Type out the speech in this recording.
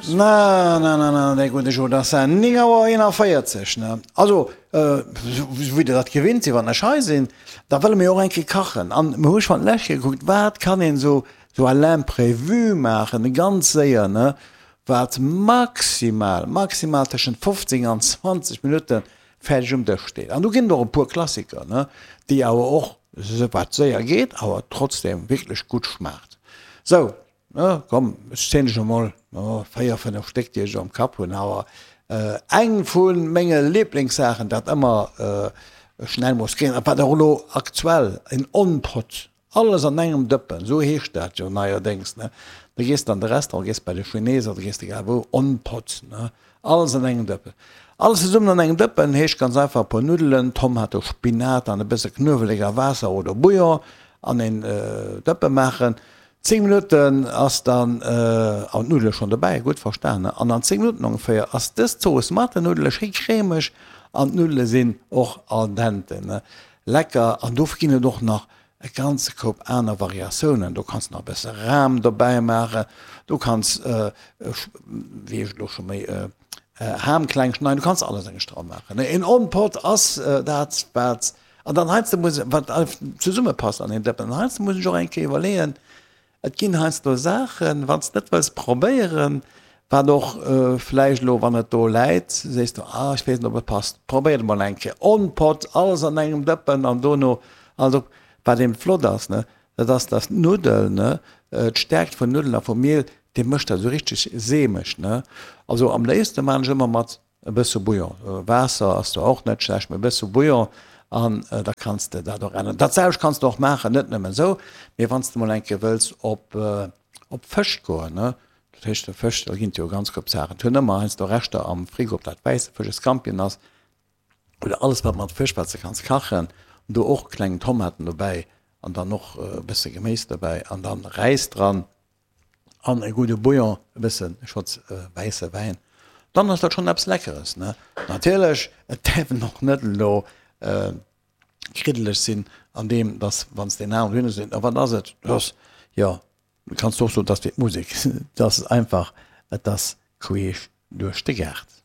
Na, na, na, na, dee gudde Joe, dat ass 9 Auer 41, ne? Also, wéi Der dat gewinnt sidd, wann ech hei sinn, da wëlle mir och eng Kéier kachen. An mir hu schonn d'lescht Kéier gekuckt, wat kann een esou, esou à l'imprévu maachen, ganz séier, ne? Wat maximal, maximal tëschent 15 an 20 Minutte fäerdeg um Dësch steet. An do ginn et och e puer Klassiker, ne, déi awer och, wat séier geet, awer trotzdem wierklech gutt schmaacht. Sou, ne, komm, ech zielen dech emol, 4, 5 Stéck, déi ech am Kapp hunn. Awer eng vu menge Liblingssaachen, dat ëmmer schnell muss ginn, a wat och elo aktuell en On-Pot Alles an engem Dëppen, esou heescht dat jo neierdéngs, ne? Da gees de an de Restaurant, gees bei de Chines oder gees egal wou, on pot, ne? Alles an engem Dëppen. Alles zesummen an engem Dëppen heescht ganz einfach e puer Nuddelen, Tomato, Spinat an e bësse Knuewelek a Waasser oder Bouillon an een Dëppe maachen. 10 Minutten ass dann, an d'Nuddele schonn dobäi, gutt verstan, ne? An an 10 Minutten ongeféier ass dës Zooss mat den Nuddele schéi cremeg an d'Nuddele sinn och al dente, ne? Lecker! An do ginn et och nach e ganze Koup aner Variatiounen. Do kanns de nach e bësse Ram dobäi maachen, du kanns, wéi ech elo scho méi, Ham kleng schneiden, du kanns alles eng dra maachen. Een On-Pot ass dat, wat, an dann heiansdo muss, wat zesummepasst an een Dëppen. An heiansdo muss ech och eng Kéier iwwerleeën, Et ginn heiansdo Saachen, wann s de net wëlls probéieren, wat och vläicht elo, wann et do läit, sees du, ah, ech weess net, ob et passt, probéier et emol eng Kéier. On pot, alles an engem Dëppen an dono alles op. Wat eben flott ass, ne, dat ass, dass d'Nuddel, ne, d'Stärkt vun Nuddelen a vum Miel, déi mécht dat esou richteg seemeg, ne. Also am léifste maan ech ëmmer mat E bësse Bouillon, Waasser ass zwar och net schlecht, mee e bësse Bouillon an da kanns de dat och änneren. Dat selwecht kanns de och maachen, net nëmmen esou, mee wann s de mol eng Kéier wëlls op op Fësch goen, ne, dat heescht de Fësch, da ginn et jo ganz koup Saachen. Et hunn ëmmer heiansdo Reschter am Frigo, ob dat wäisse Fësch, e Scampien ass oder alles wat mat Fësch, wat s de kanns kachen, do och kleng Tomaten dobäi an dann och e bësse Geméis dobäi an dann Räis dran. an e gudde Bouillon, e bëssen Schotz wäisse Wäin, dann ass dat schonn eppes Leckeres, ne? Natierlech, et däerf en och net elo kriddeleg sinn an deem, dass wann s de en aneren hunn, a wat ass et? Et ass, jo, du kanns och soen, et ass wéi d'Musek, et ass einfach, et ass queesch duerch de Gaart.